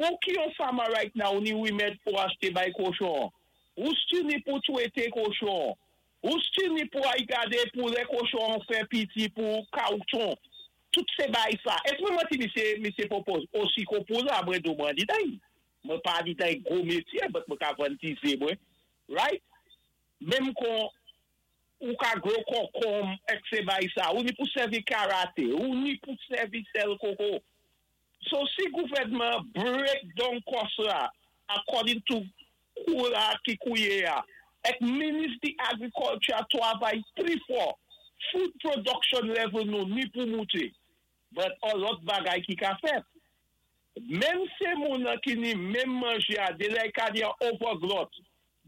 Pou ki yon farmer right now ni wimèd pou achté bay kochon? Ou still ni pou twété kochon? Ou still ni pou ay gadé pou lè kochon fè piti pou kawton? Tout sé bay sa. Èsk mwen manti misyé, misyé Popo? Osi ko pou la mwen do mwen di day. Mwen pa di day gwo métyé, but mwen ka vann ti zé mwen. Right? Menm kon ou ka grow konkonm èk sé bay sa. Ou ni pou sèvi karate, ou ni pou sèvi sèl koko. So si gouvèdman break down cost la according to kou la ki kouye a, èk minis di agriculture twavay pli fò, food production level nou ni pou mouté. But an lòt bagay ki ka fèt. Menm sé moun an ki ni menm manjé a delè ka di an overgrowth.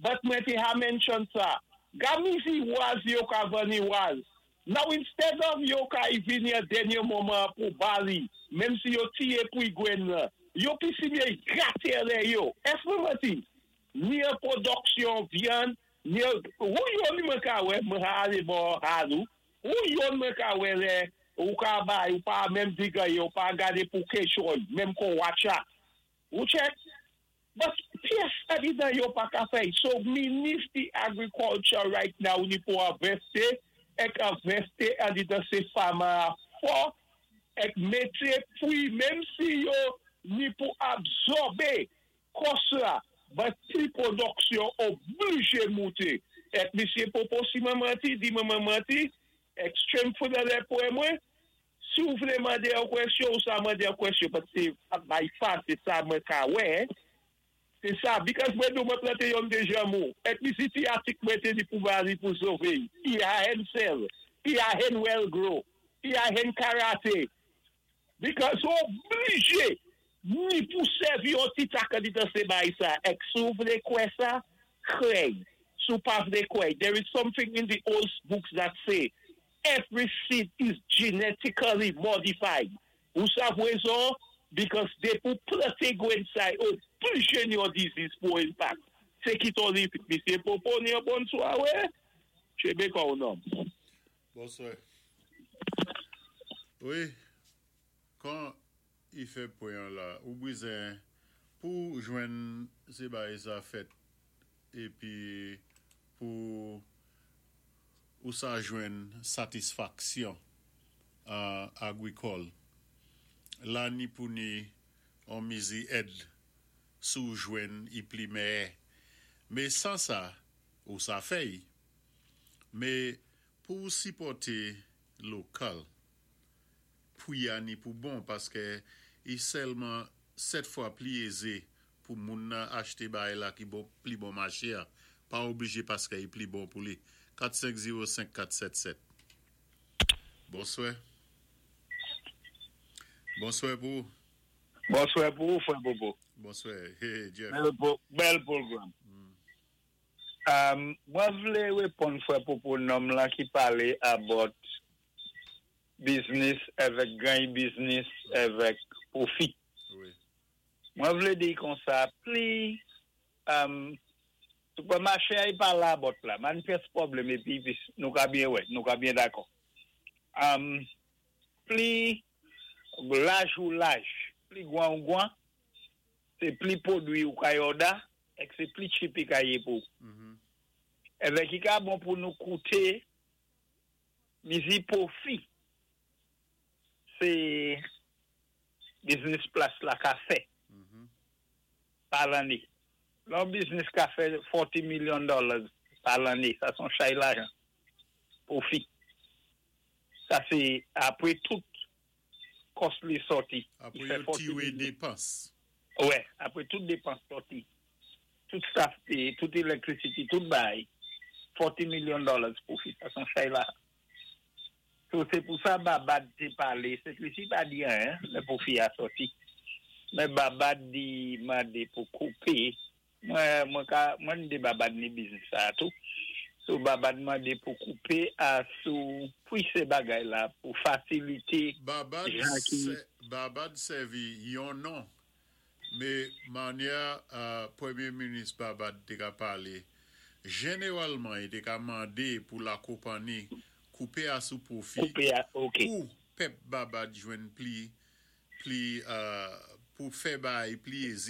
But mwen té ha mention sa. Ga mizi waz yo ka vanni waz. Now instead of yo ka y vini an dènyé moman pou bali, menm si yo tiyé pou y gwen la, yo pi si byen gate lè yo. Èsk mwen manti? Ni an pwodiksyon vyann, ni an, ou yon mwen ka wè, mwen ha ale bò halou, ou yon mwen ka wè lè, ou ka bay, ou pa menm di gaye, ou pa gade pou kechoy, menm kon watcha. Ou check? But pyès abitan yo pa ka fè. So minis di agriculture right now ni pou envèsti, èk envèsti andidan sé farmer fò, èk mété pri, menm si yo ni pou absòbé cost la, but pri pwodiksyon oblijé mouté. Èk misyé Popo si mwen manti, di mwen mwen manti, extreme food alert pou mwen, si ou vlé mandé yon kwèsyon, ou sa mandé yon kwèsyon, paski by far, sé sa mwen ka wè, sé sa, because mwen nou mwen planté yon de janmou, èk misi ti atik mwen té di pou bali pou sové, i a hen sel, i a hen well grow, i a hen karate, because oblijé, ni pou sèvi yon ti tak andidan sé bay sa, èk si ou vlé kwè sa, kwè, si ou pa vlé kwè, there is something in the old books that say, every seed is genetically modified. Ou sav wezon? Because de pou planté gwen sa, oblijé ni yon disease pou impact. Se ki ton li, misyé Popo, ni yon bon swawè? Chebe kon ou nom. Bonswa. Wi, kan i fè pwen la, ou bizwen pou jwenn sé bay sa fèt épi pou ou sa jwenn satisfaksyon agrikòl. La ni pou ni an mizi èd sou jwenn i pli mèyè. Mé 100 sa, ou sa fèy. Mé pou sipòté lokal, pri a ni pou bon paské i sèlman 7 fwa pli ézé pou moun nan achté bay la ki bon, pli bon maché a. Pa oblijé paské i pli bon pou li. 4505477. Bonswa. Bonswa pou. Bonswa pou ou, frè Popo. Bonswa. Hey, Jeff. Bèl, bèl pwogram. Mwen vlé réponn frè Popo nonm la ki palé about business avèk gany business avèk pwofi. Wi. Mwen vlé di kon sa, pli supermarché a pa la bòt la, man pyès pwoblèm épi pi nou ka byen wè, nou ka byen dakò. Pli laj ou laj, pli gwan ou gwan, sé pli pwodwi ou ka order, èk sé pli cheap i ka yé pou. Èvèk i ka bon pou nou kouté mizi pwofi, sé business plas la ka fè pa lanné. Lè business ka fè 40 million dollars pa lanné, sa son chay lajan. Pwofi. Sa sé apwé tout cost li sòti. Apwé yo tiwé dépans. Wè, apwé tout dépans sòti. Tout staff payé, tout electricity, tout bay. 40 million dollars pwofi. Sa son chay lajan. So, sé pou sa Babad té palé. Sent Lisi pa di anyen, lè pwofi a sòti. Mé Babad di mandé pou koupé. Mwen, mwen ka, mwen de Babad ni business sa tou. So Babad mandé pou koupé a sou pri sé bagay la pou fasilité Babad, jan ki Babad sèvi yon non, mé manyè Pwémyé minis Babad té ka palé, jénéwalman i té ka mandé pou la konpanni koupé a sou pwofi koupé a, ok. pou pèp Babad jwenn pli pli. pou fè bay pli ézé.